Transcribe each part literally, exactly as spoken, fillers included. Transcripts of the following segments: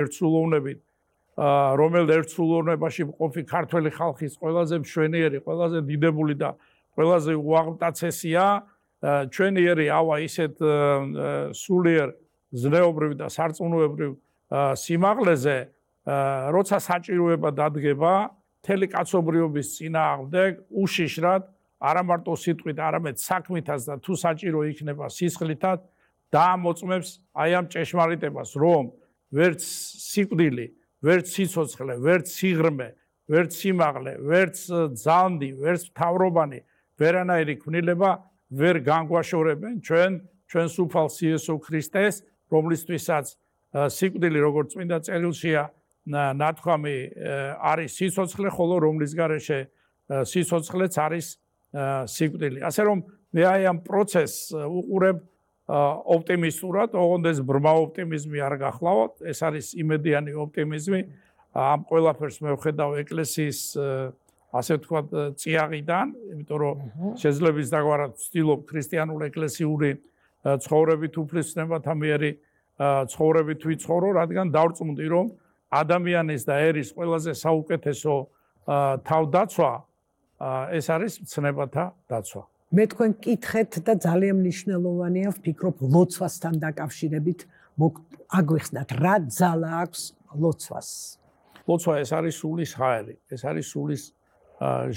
ერთსრულოვნებით, რომელ ერთსრულოვნებაში მყოფი ქართველი ხალხის ყველაზე მშვენიერი, ყველაზე დიდებული და ყველაზე უაღმტაცესია, ჩვენიერი ავა ისეთ სულიერ ზნეობრივ და სარწმუნოებრივ სიმაღლეზე, როცა საჭიროება დადგება მთელი კაცობრიობის წინააღმდეგ უშიშრად, არა მარტო სიტყვით, არამედ საქმითაც და თუ საჭირო იქნება სისხლითაც დაამოწმებს აი ამ ჭეშმარიტებას, რომ ვერც სიკვდილი, ვერც სიცოცხლე, ვერც სიღრმე, ვერც სიმაღლე, ვერც ძალნდი, ვერც მთავრობანი, ვერანაირი ქმნილება ვერ განგვაშორებენ ჩვენ ჩვენს უფალს იესო ქრისტეს, რომლისთვისაც სიკვდილი როგორც წმინდა წერილშია ნათქვამი არის სიცოცხლე, ხოლო რომლის გარეშე სიცოცხლეც არის სიკვდილი. ასე რომ მე აი ამ პროცესს უყურებ ოპტიმისტურად, ოღონდ ეს ბრმა ოპტიმიზმი არ გახლავთ, ეს არის იმედიანი ოპტიმიზმი. ამ ყველაფერს მე ვხედავ ეკლესიის ასე ვთქვათ წიაღიდან, იმიტომ რომ შეძლებს დაგვარად ვცდილობ ქრისტიანულ ეკლესიური ცხოვრებით უფლისწინებათა მიერი ცხოვრებით ვიცხოვრო, რადგან დავწმუნდი, რომ ადამიანის და ერის ყველაზე საუკეთესო თავდაცვა ეს არის მცნებათა დაცვა. მე თქვენ კითხეთ და ძალიან მნიშვნელოვანია, ვფიქრობ, ლოცვასთან დაკავშირებით აგვიხსნათ, რა ძალა აქვს ლოცვას? ლოცვა ეს არის სულის ჰაერი, ეს არის სულის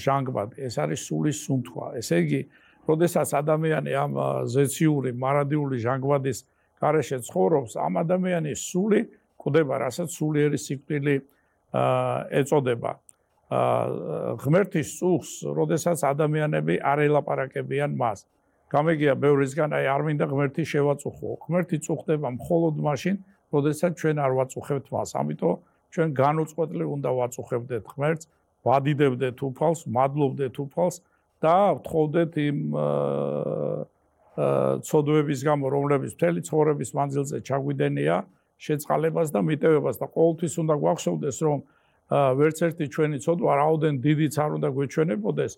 ჟანგბადი, ეს არის სულის სუნთქვა. ესე იგი, როდესაც ადამიანი ამ ზეციური, მარადიული ჟანგბადის გარეშე ცხოვრობს, ამ ადამიანის სული კვდება, რასაც სულიერი სიკვდილი ეწოდება. ღმერთის წუხს, როდესაც ადამიანები არ ელაპარაკებიან მას. გამეგია ბევრისგან, აი არ მინდა ღმერთი შევაწუხო. ღმერთი წუხდება მხოლოდ მაშინ, როდესაც ჩვენ არ ვაწუხებთ მას. ამიტომ ჩვენ განუწყვეტლივ უნდა ვაწუხებდეთ ღმერთს, ვადიდებდეთ უფალს, მადლობდეთ უფალს და ვთხოვდეთ იმ ცოდვების გამო, რომლებიც მთელი ცხოვრების მანძილზე ჩაგვიდენია, შეწყალებას და მიტევებას და ყოველთვის უნდა გვახსოვდეს, რომ ვერც ერთი ჩვენი ცოდვა რაოდენ დიდიც არ უნდა გვეჩვენებოდეს,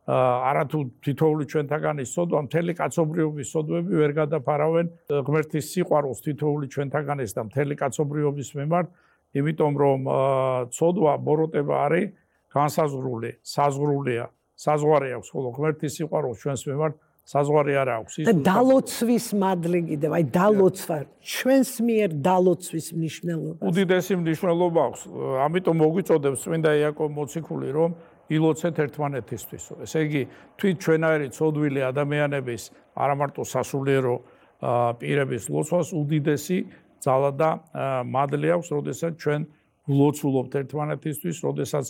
არათუ თითოეული ჩვენთაგანის ცოდვა, მთელი კაცობრიობის ცოდვები ვერ გადაფარავენ ღმერთის სიყვარულს თითოეული ჩვენთაგანის და მთელი კაცობრიობის მიმართ, იმიტომ რომ ცოდვა ბოროტება არის განსაზღვრული, საზღვრულია, საზღვარი აქვს, ხოლო ღმერთის სიყვარულს ჩვენს მიმართ საზღვარი არ აქვს. და დალოცვის მადლი კიდევ, აი დალოცვა, ჩვენს მიერ დალოცვის მნიშვნელობა. უდიდესი მნიშვნელობა აქვს. ამიტომ მოგვიწოდებს წმინდა იაკობ მოციქული, რომ ილოცეთ ერთმანეთისთვის. ესე იგი, თვით ჩვენაირი ცოდვილი ადამიანების, არა მარტო სასულიერო პირების ლოცვას უდიდესი ძალა და მადლი აქვს, როდესაც ჩვენ ვლოცულობთ ერთმანეთისთვის, როდესაც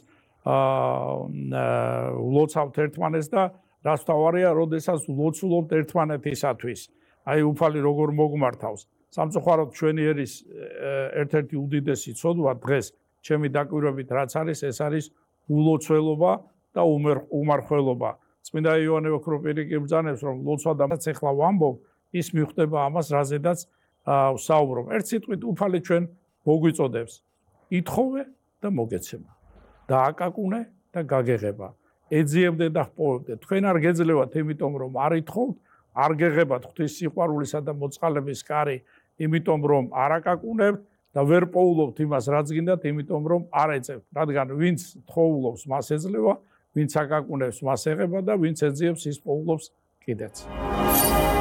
ვლოცავთ ერთმანეთს და რაც თავარია, როდესაც ვლოცულობთ ერთმანეთისათვის. აი უფალი როგორ მოგმართავს. სამწუხაროდ ჩვენი ერის ერთ-ერთი უდიდესი ცოდვა დღეს ჩემი დაკვირვებით რაც არის, ეს არის ულოცველობა და უმარხველობა. წმინდა იოანე ოქროპირი კი ბრძანებს, რომ ლოცვა და რაც ახლა ვამბობ, ის მიხვდება ამას, რაზედაც ვსაუბრობ. ერთ სიტყვით უფალი ჩვენ მოგვიწოდებს. ითხოვე და მოგეცემა. დააკაკუნე და გაგეღება. ეძიებდე და ჰპოვებდე. თქვენ არ გეძლევათ, იმიტომ რომ არ ითხოვთ, არ გეღებათ ღვთის სიყვარულისა და მოწყალების კარი, იმიტომ რომ არ აკაკუნებთ და ვერ პოულობთ იმას, რაც გინდათ, იმიტომ რომ არ ეძებთ. რადგან ვინც თხოვულობს, მას ეძლევა, ვინც აკაკუნებს, მას ეღება და ვინც ეძიებს, ის პოულობს კიდეც.